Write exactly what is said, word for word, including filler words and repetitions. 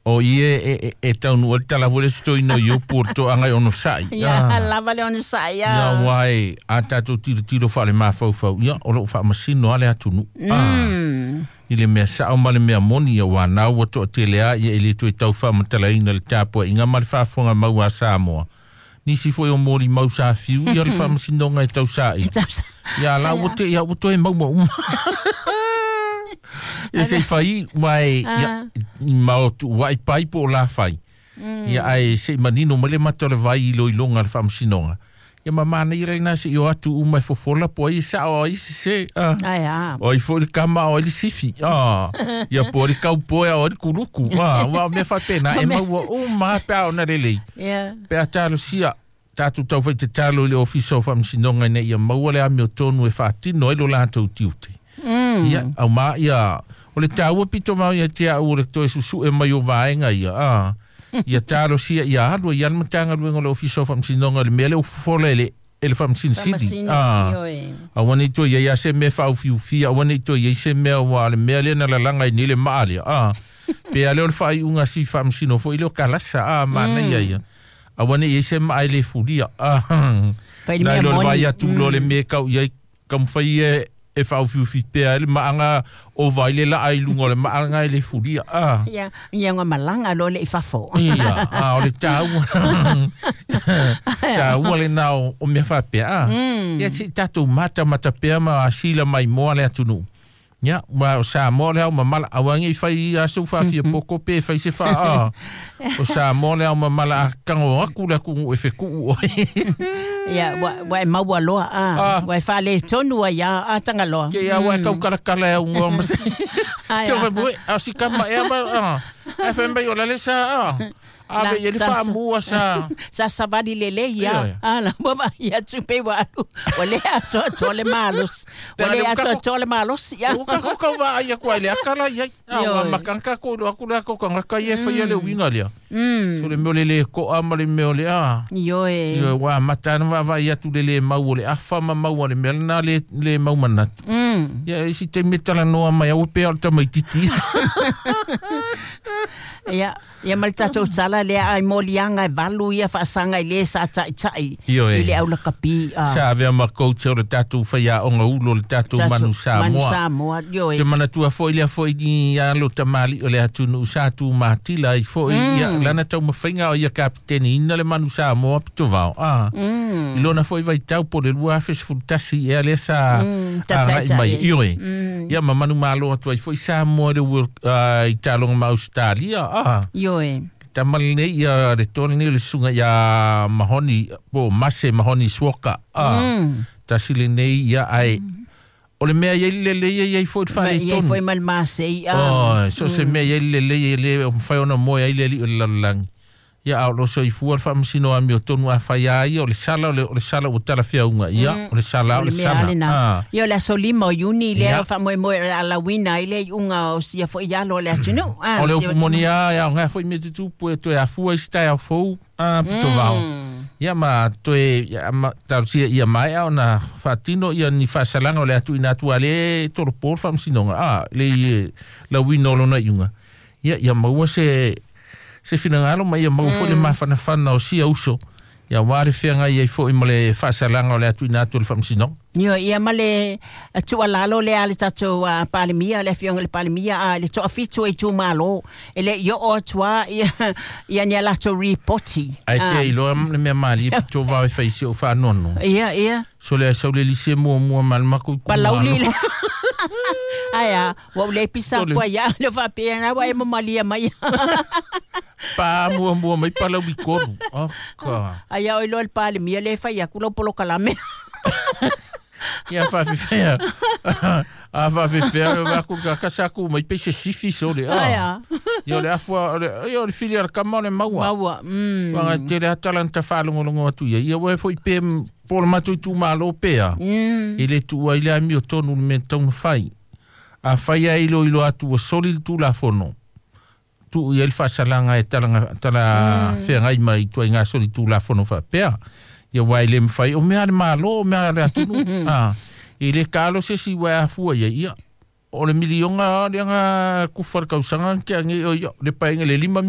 O ie e e e taunu o le tala foi le sitoina o Iopu o le toaga e onosa'i. Ia lava le onosa'i. Ia ua e a tatou tilotilo faale-mafaufau, ia o lo'o faamasino a le atunuu i le mea sa'o ma le mea moni, ia ua nau ua to'atele a ia e lē toe tau faamatalaina le tapua'iga ma le faafofoga mau a Samoa. Nisi foi o molimau sa fiu ia le faamasinoga e tausa'i, ia la ua te'i a ua toe maua uma. Ia se i fai uae ia ma o tuua'i pai po o la fai. Ia ae se'i manino mai le mata o le vai i iloiloga a le faamasinoga. Ia ma manaia lena se'i o atu uma e fofola po ai e sa'o ai sesē. O ai foi le kama o ai le sifi. Ia po o le kaupoe o ai le kuluku. Ua o mea faapena e maua uma pe a ona lelei. Pe a talosia tatou taufai tatalo i le Ofisa o Faamasinoga ina ia maua le amiotonu e faatino ai lo latou tiute. Ia aumā ia o le taua pito vao ia te a'u o le toe susu'e mai o vaega ia a ia talosia ia alu ai le Matagaluega o le Ofisa o Faamasinoga le mea lea ua fofola e le e le Faamasino Sili a aua nei toe iai a se mea faaufiufia, aua nei toe iai se mea ua le mea lea na lalaga ai nei le maa lea a pe a lea o le faaiuga si faamasino foi lea o kalasa a manaia ia aua nei iai se maa e lē fulia a nai lo le vaai atu loa le mea e kau iai taumafai e e faaufiufi pea ai le maaga o vai le laa i luga o le maaga e lē fulia a ia ia nga malaga loa le i fafo. Ia a o le taua taua lenā o mea faapea a ia se'i tatou matamata pea ma asila maimoa le atunuu. Ia ua o Samoa le ao mamala aua nei fai ia se faafia poko pe fai se faa o Samoa le ao mamala a tago aku le atunuu e feku'u oe. Ia ua ua e maua loa a ua e faaletonu ai a a Tagaloa. Ke ia ua e taukalakala e augoa ma se ke o fai a si kama ea ma a ae fai mai o la le sa a ave i ai le faamua sa sa savali lelei ia a la ua vaai atu pei ua alu ua le atoatoa le malosi ua le atoatoa le malosi ia ua tatou tau vaai atu ai le aka la i ai a ua amata tatou iloa atu le aka o tagata ia e faia le uiga lea so le mea o le lē to'a ma le mea o le a ioe ua amata ona vaavaai atu le lē mau o le afa ma mau a le mea lena lē lē mau manatu. Ia e isi taimi e talanoa mai aua pea o le tamaititi. Ia ia ma le tatou tala lea ai moliaga e valu ia faasaga i lē sa taʻitaʻi i le aulakapi a sa avea ma coach o le tatou faiaoga ulo o le tatou manu Samoa. Manu Samoa ioe. Te manatua foi lea foi ni alo tamali'i o le atunuu sa tumatila ai foi ia lana taumafaiga o ia kapiteniina le manu Samoa pitovao a i lona foi vaitau po le lua afe sefulu tasi ea lea sa aga'i mai ioe ia ma manumalo atu ai foi Samoa i le World i taaloga ma Ausetalia a ioe tama lenei ia le toa lenei o le susuga iā Mahoni po o Mase Mahoni Suoka a tasi lenei ia ae o le mea i ai le lelei e i ai foi le Ma i ai faaletonu foi ma le masei a oi so se mea i ai le lelei e lē mafai ona moe ai le ali'i o le lalolagi ia a o loo soifua le faamasino amiotonu a fai a ia o le sala o le o le sala ua talafeauga ia o le sala o o le le mea sala lena a ia o le aso lima o Iuni lea ia o faamoemoe o le a lauina ai le iuga o sia foi alo o le atunuu a o le sia upu moni a e aoga foi mea tutupu e toe afua i se taeao fou a pitovao ia ma toe ia ma talosia ia maea ona faatino ia ni faasalaga o le a tuuina atu a lē tolopo le faamasinoga a le lauina o lona iuga ia ia maua se se finagalo ma ia maua foi le mafanafana o sia uso ia auā le feagai ai foi ma le faasalaga o le a tuuina atu e le faamasinoga. Ioe ia ma le tuualalo lea a le tatou Palemia, le afioga i le Palemia a le toafitu o itumalo e leʻi oo atu a ia ia ni a latou ripoti. Ae te iloa le mea malie pito vao e fai i si ou faanoanoa. Ia ia So le sau le lise muamua ma le makou Palauli itumalo. le ae a ua ou le pisa O le atu ai a le faapea na ua e mamalia mai. Pa muamua mai Palauli tolu. Aka. Ai a oi loa le Palemia le fai atu lau polokalame. Ia faafefea. A faafefea le vaku ka kasa ku mai pe se sifi so le Ai a. a. Ia o le afua o le ia o le fili a le kama o le maua. Maua. Mm. Wanga tele atala na tawhaalongolongo atu ia. Ia ua foi pe po le matou itumalo pea. Mm. E le tuua i le amiotonu le mea tatau ona fai. A fai ai ilo ilo atu ua soli le tulafono. Tuu i ai le faasalaga e talaga tala feagai mai ituaiga soli tulafono faapea. Ia ua e le mafai o mea a le Malo o mea a le atunuu. A e le kalo se isi ua e afua ia ia. O le miliona lea na kufa le tausaga na tea nei o ia le paeaga i le lima